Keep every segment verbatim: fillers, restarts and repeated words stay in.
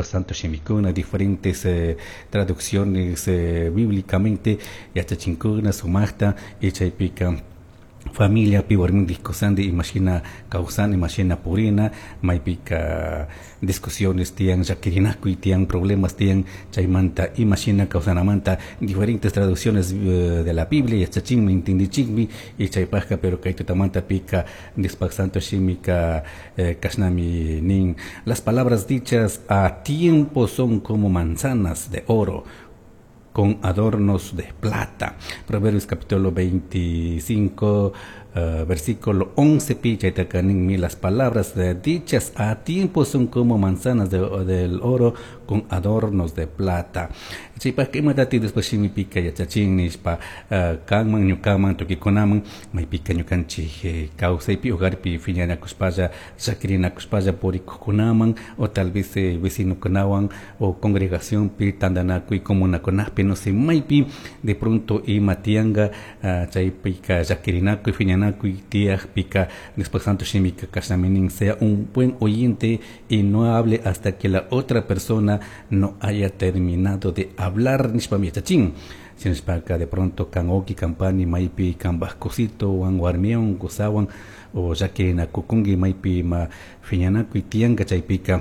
Santo shimikuna diferentes eh, traducciones eh, bíblicamente yachachinkuna sumaqta y chaypika familia pi warmindik kusandi imashina kawsana imashina purina maypika discusiones tiyan llakirinakuy tiyan problemas tiyan chaymanta imashina kawsanamanta diferentes traducciones eh, de la Biblia yachachinmi entendichinmi y chaypajka pero kay tutamanta pika Diospaj Santo shimika eh, kashnami nin las palabras dichas a tiempo son como manzanas de oro con adornos de plata. Proverbios capítulo veinticinco, uh, versículo once, pi ninmi las palabras de dichas a tiempo son como manzanas de, del oro con adornos de plata. Chaypajka imatati después shimipika yachachin nishpa uh, kanman ñukaman tukikunaman maypika ñukanchik eh, kawsaypi hogarpi phiñanakushpalla llakirinakushpalla purikukunaman o tal vez eh, vecinokunawan o congregacionpi tantanakuy comunakunapi, no sé, maypi de pronto ima tiyanka uh, chaypika llakirinakuy phiñanakuy tiyakpika después Santo shimika kashnami nin: sea un buen oyente y no hable hasta que la otra persona no haya terminado de hablar nishpami yachachin. Shinashpaka de pronto kan wawki kan pani maypi kanpaj kusitowan warmiwan kusawan o llakirinakukunki maypi ima phiñanakuy tiyanka chaypika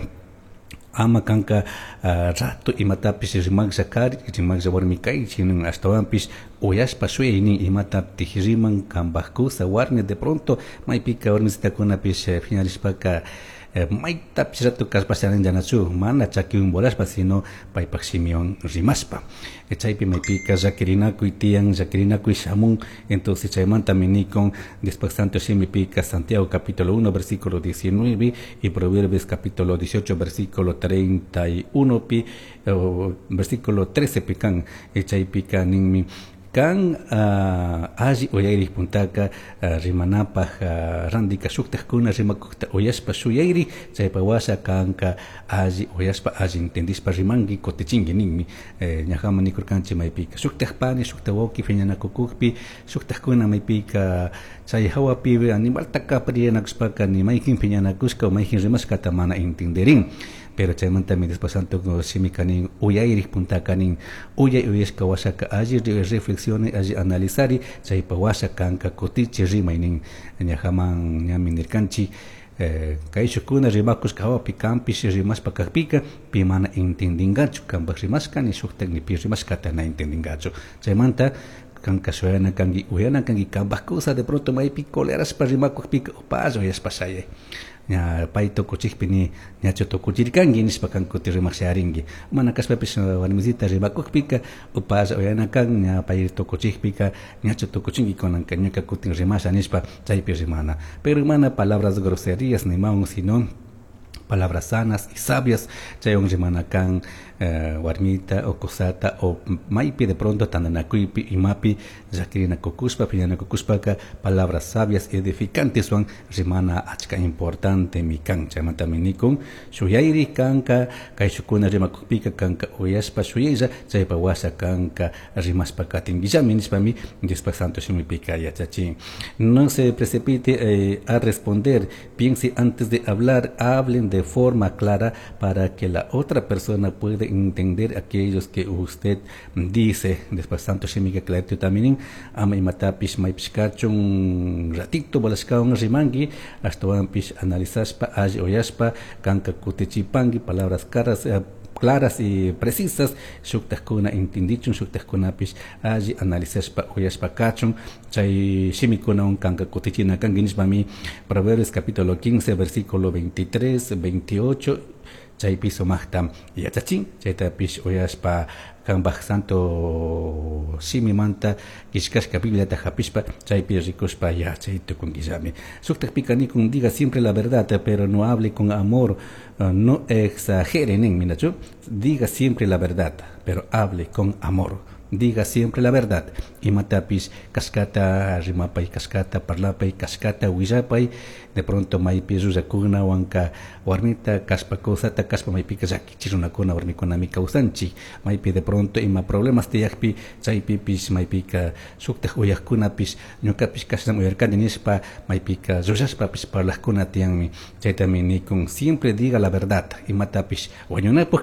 ama kanka uh, rato imatapish rimaklla kari rimaklla warmi kaychi nin ashtawanpish uyashpa shuyay nin imatatik riman kanpaj kusa warmi. De pronto maypika warmisitakunapish phiñarishpaka eh, maytapish rato kallpasharinllanachu mana chakiwan volashpa sino paypak shimiwan rimashpa chaypi maypika llakirinakuy tiyan llakirinakuy shamun. Entonces chaymantami nikun después Santo shimipika Santiago capítulo uno versículo diecinueve y Proverbios capítulo dieciocho versículo treinta y uno pi versículo trece pikan chaypika ninmi: kan uh, alli uyayri puntaka uh, rimanapaj uh, randika shuktajkuna rimakukta uyashpa shuyayri chaypa washa kanka alli uyashpa alli entendishpa rimanki kutichinki ninmi. eh, ñajaman nikurkanchik maypika shuktaj pani shukta wawki phiñanakukukpi shuktajkuna maypika chay hawapi animalta kaparianakushpaka ni mayjin phiñanakushka o mayjin rimashkata mana entenderin. Pero chaymantami después Santo shimika nin uyayrik puntaka nin uyay uyashka washaka alli reflexione alli analizari chaypa washa kanka kutichi rimay nin. Ñajaman ñami nirkanchik eh, kayshukuna rimakushka hawapi kanpish rimashpa kakpika pi mana entendingachu kanpak rimashka ni shuktak ni pi rimashkata na entendingachu. Chaymanta kanka shuyana kanki uyana kanki kanpak kusa de pronto maypi colerashpa rimakukpika upalla uyashpa shayay ña pay tukuchikpi ni ñachu tukuchirkanki nishpa kan kuti rimak sharinki mana kashpapish warmisita rimakukpika upalla uyana kan ña pay tukuchikpika ñachu tukuchinki kunanka ñuka kutin rimasha nishpa chaypi rimana, pero mana palabras groserías nimawan sino palabras sanas y sabias chaywan rimana kan eh, warmita o kusata o maypi de pronto tantanakuypi imapi llakirinakukushpa phiñanakukushpaka palabras sabias y edificantes wan rimana achka importante mi kan. Chaymantami nikun shuyayri kanka kayshukuna rimakukpika kanka uyashpa shuyaylla chaypa washa kanka rimashpa katinkillami nishpami Diospaj Santo shimipika yachachin. No se precipite eh, a responder, piense antes de hablar, hablen de forma clara para que la otra persona pueda entender aquellos que usted dice. Después Santo shimika clarito también ama imatapish maypish kachun ratito volashkawan rimanki ashtawanpish analizashpa alli uyashpa kanka kutichipanki palabras caras eh, claras y precisas shuktajkuna entendichun shuktajkunapish alli analizashpa uyashpa kachun chay shimikunawan kanka kutichina kanki nishpami Proverbios capítulo quince versículo veintitrés veintiocho chaypi sumaqta yachachin. Chaytapish uyashpa kanpaj Santo shimimanta killkashka Bibliata hapishpa chaypi rikushpa yachay tukunkillami. Shuktakpika nikun: diga siempre la verdad, pero no hable con amor, uh, no exagere nin minachu. Diga siempre la verdad, pero hable con amor. Diga siempre la verdad. Imatapish kashkata rimapay kashkata parlapay kashkata willapay de pronto maypi llullakuna wanka warmita kashpa kusata kashpa maypika llakichi runakuna warmikunami kawsanchik maypi de pronto ima problemas tiyakpi chaypipish maypika shuktak uyakkunapish ñukapish kashnami uyarkani nishpa maypika llullashpapish parlajkuna tiyanmi. Chaytami nikun: siempre diga la verdad imatapish wañunapuk.